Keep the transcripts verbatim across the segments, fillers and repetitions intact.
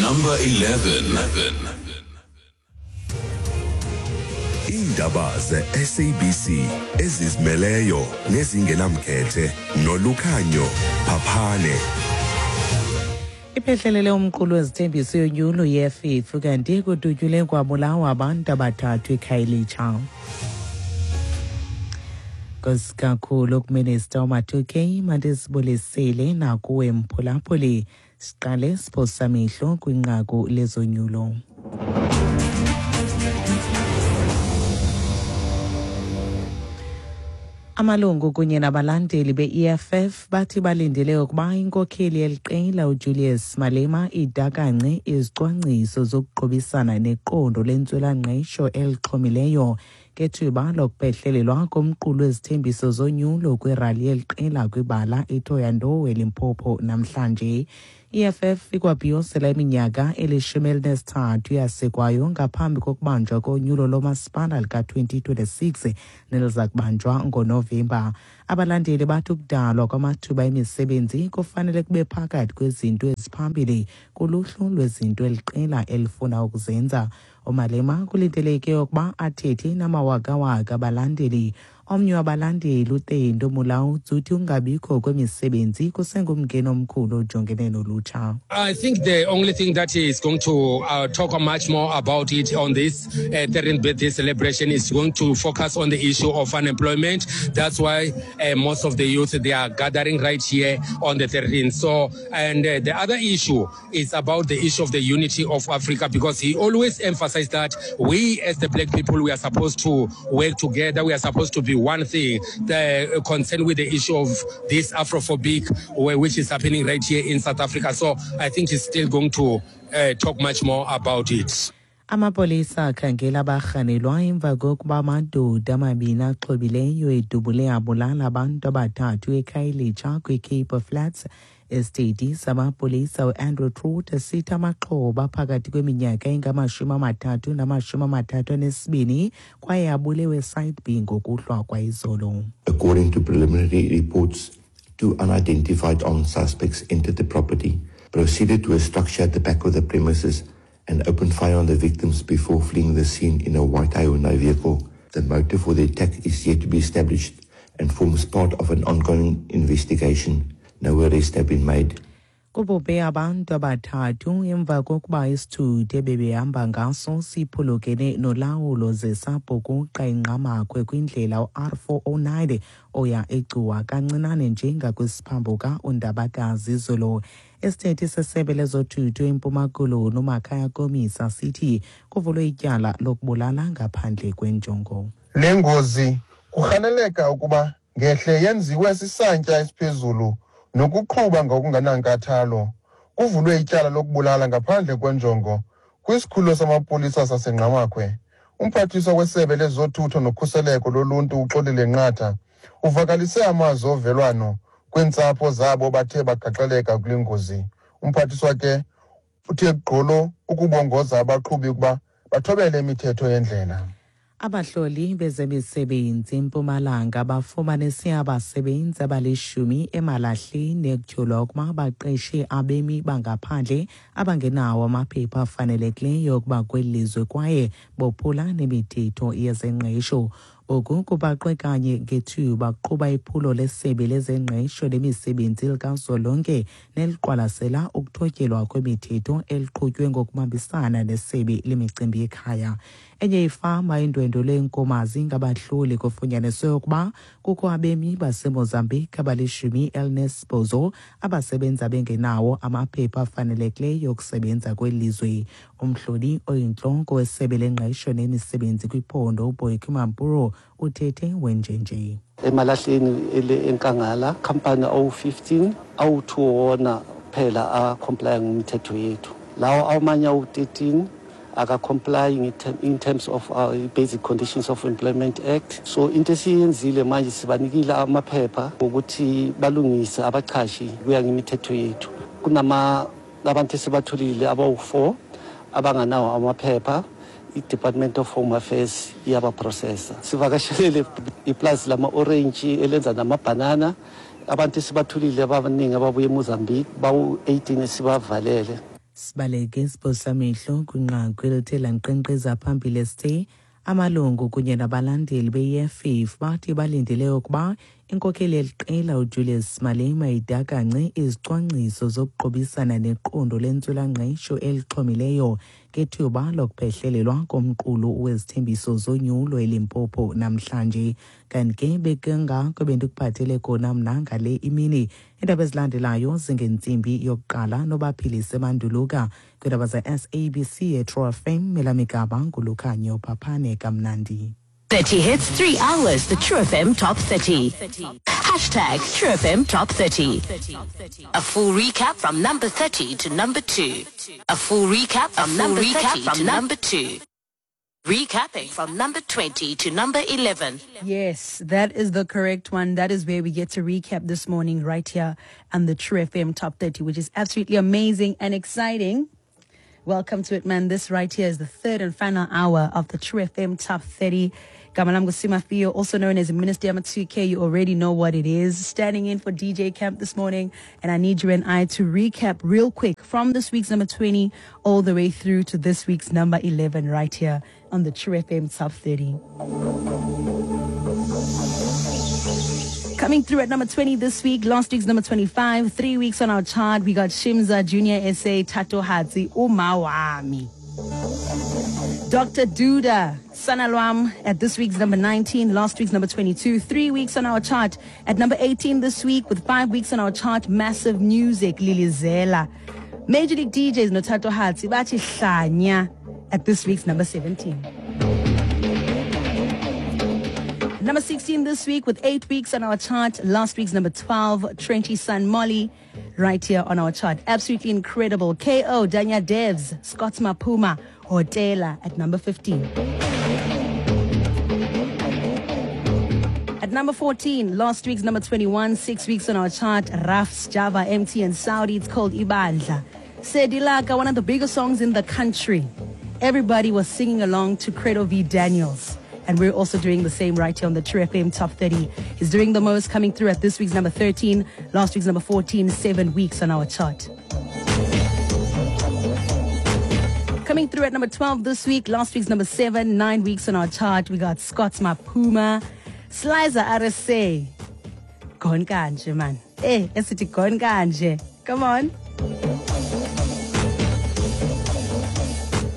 Number eleven. Iindaba ze-S A B C ezizimeleyo nezingenamkhethe noLukhanyo Phaphane. Iphehlelele umqulu wezithembiso yonyulo ye-E F F, kanti kudutyulwe kwabulawa abantu abathathu eKhayelitsha. Nkosi kakhulu kuMinister uMatuke, mandisibulisele nakuwe mphulaphuli. Siqale siphosamihlo kwinqaku lezonyulo. Amalungu kunye nabalandeli be-E F F bathi balindele ukuba inkokheli yeliqela uJulius Malema idakance izicwangciso zokuqubisana neqondo lentswelangqesho elixhomileyo ngethuba lokuphehlelelwa komqulu wezithembiso zonyulo kwirali yeliqela kwibala iThohoyandou eLimpopo namhlanje. I-E F F ikwabhiyozela iminyaka elishumi elinesithathu yasekwayo ngaphambi kokubanjwa konyulo lomasipala lika-twenty twenty-six neliza kubanjwa ngoNovemba. Abalandeli bathi ukudalwa kwamathuba emisebenzi kufanele kube phakathi kwezinto eziphambili kuluhlu lwezinto eliqela elifuna ukuzenza. UMalema kulindeleke ukuba athethe namawakawaka abalandeli. Omnye wabalandeli, uTendo Mulaudzi, uthi ukungabikho kwemisebenzi kusengumngeni omkhulu ojongene nolutsha. I think the only thing that is going to uh, talk much more about it on this uh, thirteenth birthday celebration is going to focus on the issue of unemployment. That's why uh, most of the youth, they are gathering right here on the thirteenth. So, and uh, the other issue is about the issue of the unity of Africa, because he always emphasized that we as the black people, we are supposed to work together. We are supposed to be one thing. The concern with the issue of this Afrophobic, which is happening right here in South Africa. So I think he's still going to uh, talk much more about it. Amapolisa akhangela abarhanelwa emva kokuba amadoda amabini axhobileyo edubule abulala abantu abathathu eKhayelitsha kwiCape Flats. Isithethi samapolisa uAndrew Truter sithi amaxhoba phakathi kweminyaka engamashumi amathathu namashumi amathathu anesibini kwaye abulewe eSite B ngokuhlwa kwayizolo. According to preliminary reports, two unidentified armed suspects entered the property, proceeded to a structure at the back of the premises and opened fire on the victims before fleeing the scene in a white Hyundai vehicle. The motive for the attack is yet to be established and forms part of an ongoing investigation. No arrests have been made. Kubhubhe abantu abathathu emva kokuba isithuthi ebebehamba ngaso siphulukene nolawulo ze sabhukuqa iNgqamakhwe kwindlela u-R four oh nine oya eGcuwa, kancinane nje ngakwisiphambuka uNdabakazi izolo. Isithethi sesebe lezothutho eMpuma Koloni uMakhaya Komisa sithi kuvulwe ityala lokubulala ngaphandle kwenjongo. Le ngozi kurhaneleka ukuba ngehle yenziwe sisantya esiphezulu nokuqhuba ngokungenankathalo. Kuvulwe ityala lokubulala ngaphandle kwenjongo kwisikhululo samapolisa saseNgqamakhwe. Umphathiswa wesebe lezothutho nokhuseleko loluntu uXolile Nqatha uvakalise amazwi ovelwano kwiintsapho zabo bathe bagaxeleka kule ngozi. Umphathiswa ke uthe gqolo ukubongoza abaqhubi ukuba bathobele imithetho yendlela. Abahloli bezemisebenzi eMpumalanga bafumanise abasebenzi abalishumi eMalahleni ekutyholwa ukuba baqeshe abemi bangaphandle abangenawo amaphepha afanelekileyo ukuba kweli lizwe kwaye bophula nemithetho yezengqesho. Oku kubaqwe kanye ngethuba kuqhuba iphulo lesebe lezengqesho lemisebenzi likazwelonke neliqwalasela ukuthotyelwa kwemithetho eliqhutywe ngokubambisana nesebe lemicimbi yekhaya. Enye ifama indwendwelwe eNkomazi ngabahloli kufunyaniswe ukuba kukho abemi baseMozambique abalishumi elinesibhozo abasebenza bengenawo amaphepha afanelekileyo okusebenza kweli lizwe. Umhloli oyintloko wesebe lengqesho nemisebenzi kwiphondo uBoikie Mampuru uthethe wenjenje. EMalahleni ele enkangala company awu fifteen, awu two wona phela a-comply ngemithetho yethu. Lawo amanye awu thirteen aka-complying in terms of our Basic Conditions of Employment Act. So into esiyenzile manje, sibanikile amaphepha ukuthi balungise abachashi kuya ngemithetho yethu. Kunama abantu esibatholile abawu four abanganawo amaphepha, i-Department of Home Affairs iyabaprocessa. Sivakashelele iplazi lama-orange elenza namabhanana. Abantu esibathulile abaningi ababuye eMozambique bawu eighteen esibavalele. Sibaleke siphosamehlo kwinqaku elithe lankqenkqeza phambili esithe amalungu kunye nabalandeli be-E F F bathi balindele ukuba inkokheli yeliqela uJulius Malema idakance izicwangciso zokuqubisana neqondo lentswelangqesho elixhomileyo ngethuba lokuphehlelelwa komqulu wezithembiso zonyulo eLimpopo namhlanje. Kanti ke bekungako bendikuphathele kona mna ngale imini. Iindaba ezilandelayo zingentsimbi yokuqala nobaphilise Manduluka kwiindaba ze-S A B C eTrue F M. Elamigaba nguLukhanyo Phaphane kamnandi. thirty hits, three hours, the True F M Top thirty. Hashtag True F M Top thirty. A full recap from number thirty to number two. A full recap from number thirty to number two. Recapping from number twenty to number eleven. Yes, that is the correct one. That is where we get to recap this morning right here on the True F M Top thirty, which is absolutely amazing and exciting. Welcome to it, man. This right here is the third and final hour of the True F M Top thirty. Gamalam Gusimafio, also known as Minister Yama two K, you already know what it is. Standing in for D J Camp this morning, and I need you and I to recap real quick from this week's number twenty all the way through to this week's number eleven right here on the True F M Top thirty. Coming through at number twenty this week, last week's number twenty-five, three weeks on our chart, we got Shimza, Junior S A, Thatohatsi, Umawami. Doctor Duda, Sanalwam at this week's number nineteen, last week's number twenty-two, three weeks on our chart. At number eighteen this week, with five weeks on our chart, Massive Music, Lilizela. Major League D Js, Nothatohatsi, Bathi Hlanya at this week's number seventeen. Number sixteen this week with eight weeks on our chart. Last week's number twelve, Trenchy Son Molly, right here on our chart. Absolutely incredible. K O, Danya Devs, Scott Mapuma, Hotela at number fifteen. At number fourteen, last week's number twenty-one, six weeks on our chart, Rafs, Java, M T and Saudi, it's called Ibandla. Sedilaka, one of the biggest songs in the country. Everybody was singing along to Credo V. Daniels. And we're also doing the same right here on the True F M Top thirty. He's doing the most, coming through at this week's number thirteen, last week's number fourteen, seven weeks on our chart. Coming through at number twelve this week, last week's number seven, nine weeks on our chart. We got Scott Mapuma, Slicer R S A. Gone kanje, man. Eh, esithi gone kanje. Come on.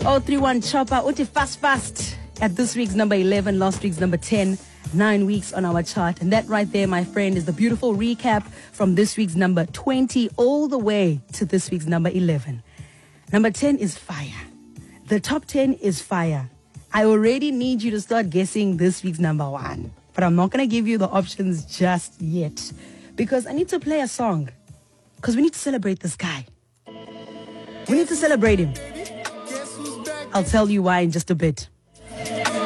oh three one Chopper, uthi fast, fast. At this week's number eleven, last week's number ten, nine weeks on our chart. And that right there, my friend, is the beautiful recap from this week's number twenty all the way to this week's number eleven. Number ten is fire. The top ten is fire. I already need you to start guessing this week's number one. But I'm not gonna give you the options just yet because I need to play a song 'cause we need to celebrate this guy. We need to celebrate him. I'll tell you why in just a bit.